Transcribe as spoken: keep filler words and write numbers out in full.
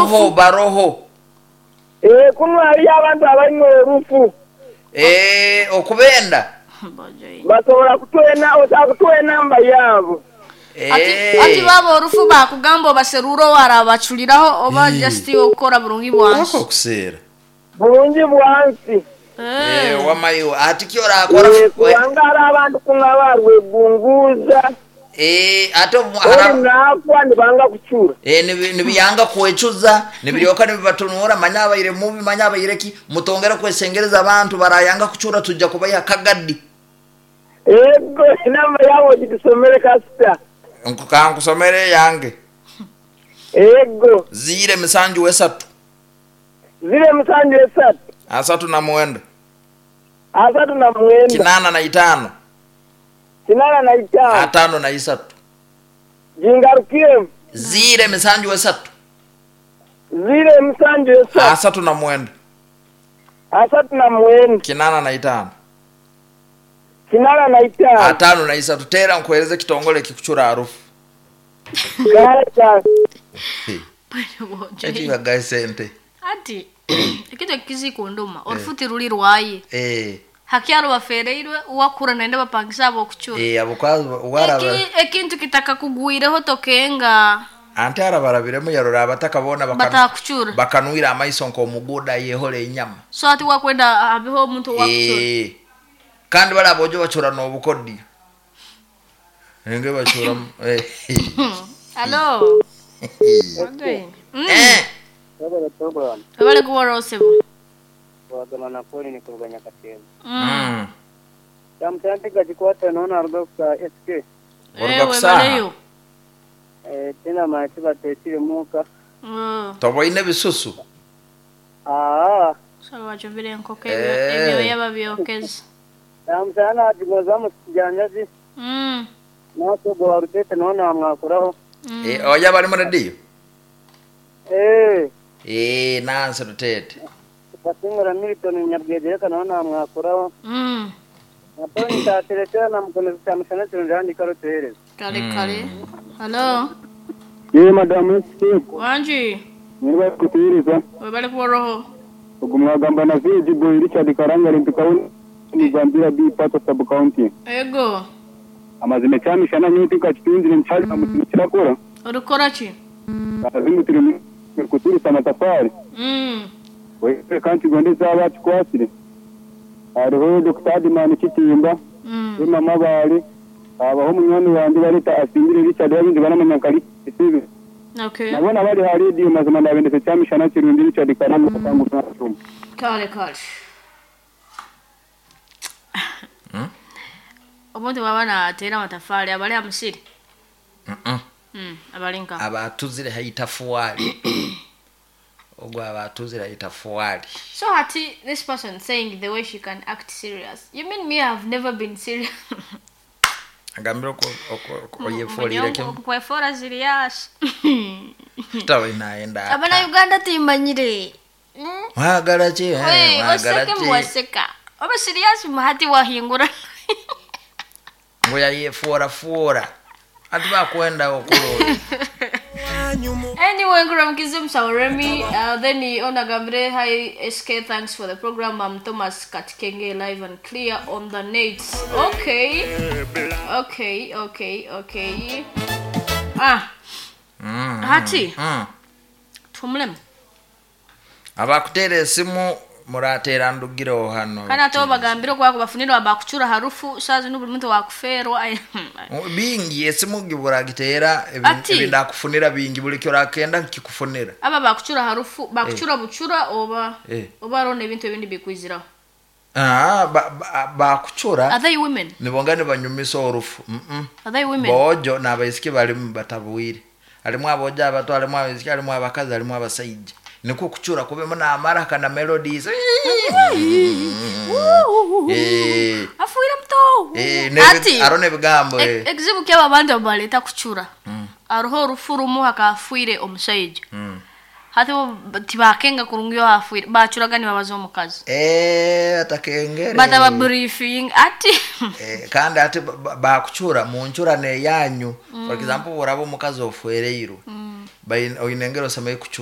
Baroho baroho. Eh, kuno hariyo abantu abaine orufu. Eh, okubenda. Basobola kutuwa osobola kutuwa enamba yaabo. Ati ati baba orufu bakugamba obaserura warabachuliraho oba just okukora burungi bwansi. Ako kuseera. Bulungi bwansi. Eh, wamayo ati kyorakora. Eh, kubanga hari abantu kuno abarwegunguza. Eh, ate ori naakwa nibanga kucura. Eh, nibiyanga kwecuza, nibiryoka nibibatunura manya abaire mubi manya abaire ki mutongera kwesengereza abantu barayanga kucura tujja kubaya kagadi. Ego namba yawo gitusomere kasita. Nkukankusomere yange. Ego. Zire misanju esatu. Zire misanju esatu. Asatu na mwenda. Asatu na mwenda. Kinana na itano. Kinana na itano. Atano na isatu. Jingarukie. Zire misanju esatu. Zire misanju esatu. Asatu na mwenda. Asatu na mwenda. Kinana na itano. Kinana na itano. Atano na isatu. Tera nkueleze kitongole kikuchura harufu. Gacha. Eti bagaye sente. Ati ekintu kizikunduma orufuti ruri rwaye. Eh. Hakyaro bafereirwe uwakura naende bapangisa abo kuchura. Eh, abo kwazo waraba. Eki ekintu kitaka kugwireho tokenga. Ante arabarabiremu yarora abatakabona batakuchura. Bakanwira amaiso nko omuguda yehole enyama. So ati wakwenda abeho omuntu wakuchura. Eh. Kandi bala bojo bachura n'obukodi. Nenge bachura eh. Hello. Eh. Abale kuwa rosebo. Wagama na poli ni kuruganya katema. Mm. Tamtante gajikwata naona aruga kwa S K. Oruga kusaha. Eh, tena machi batetire muka. Mm. Toboine bisusu. Ah. Sawa bachovire enkoko ebyo yababyokeza. Tamtana ajigoza mujanyazi. Mm. Naso gwarutete naona mwakuraho. Eh, oya bali mu radio. Eh. Eh, nanse rutete. Basingura Milton Nyabwegere naona mwakuraho. Mm. Naponi tateretera na mkono tamshana tunjani karotereza. Kale kale. Hello. Ye madam S K. Wanji. Niba kutireza. Webale kuwa roho. Ogumwagamba na Viji Boy Richard Karanga rintukauni ni Gambira B Pato sub county. Ego. Amazime cyamishana nyuti kakitunzire nchali amukirakora. Urukora ki? Azimutire kuturisa amatafari. Mm. Wewe kanti gondeza abacu kwasire. Hariho Doctor Adimani Kitimba. Mm. Mama bali abaho munyoni wandi barita asimbire Richard yabindi banamanyakali isibe. Okay. Nabona bali ha radio mazima ndabendese cyamishana kirundi Richard Karanga kangu nacyuma. Kale kale. Mm. Omuntu baba natera amatafari abali amusiri. Mm. Mm, abalinka. Abatuzire haitafuali. Ogwa abatuzire haitafuali. So hati this person saying the way she can act serious. You mean me I've never been serious? Agambira ko oyefolire kim. Kwefora serious. Tawe naenda. Abana Uganda timanyire. Mwagala ki? Mwagala ki? Mwaseka. Oba serious muhati wahingura. Ngoya yefora fora. Ati bakwenda okulo. Anyway, Ngura Sauremi, uh, then he onagambre hi S K, thanks for the program. I'm Thomas Katikenge, live and clear on the net. Okay. Okay, okay, okay. Ah. Mm. Hati. Mm. Tumlem. Abakutere esimu muratera ndugiro hano. Kana to bagambiro kwa kubafunira abakuchura harufu sazi n'ubuli muntu wakuferwa. Bingi esimu gibura gitera ebinda kufunira bingi buli kyo rakenda kikufunira. Aba bakuchura harufu bakuchura eh. Buchura oba eh. Oba rone ebintu ebindi bikwizira. Ah bakuchura. Are they women? Nibongane banyumisa orufu. Mm -mm. Are they women? Bojo n'abaisiki bali batabwire. Alimu aboja abato alimu abaisiki alimu abakazi alimu abasajja. Niko kuchura kubemo na amara kana melodies. Eh. Afuira mto. Eh, ne arone bigambo eh. Ekizibu kyaba abantu abaleta kuchura. Aruho rufurumu hakafuire omusajja. Hati tibakenga kurungyo afuire bachuraga ni babazo omukazi. Eh, atakengere. Bataba briefing ati. Eh, kandi ati bakuchura munchura ne yanyu. For example, urabo omukazi ofuereirwe. Bain oinengero samaye kuchura.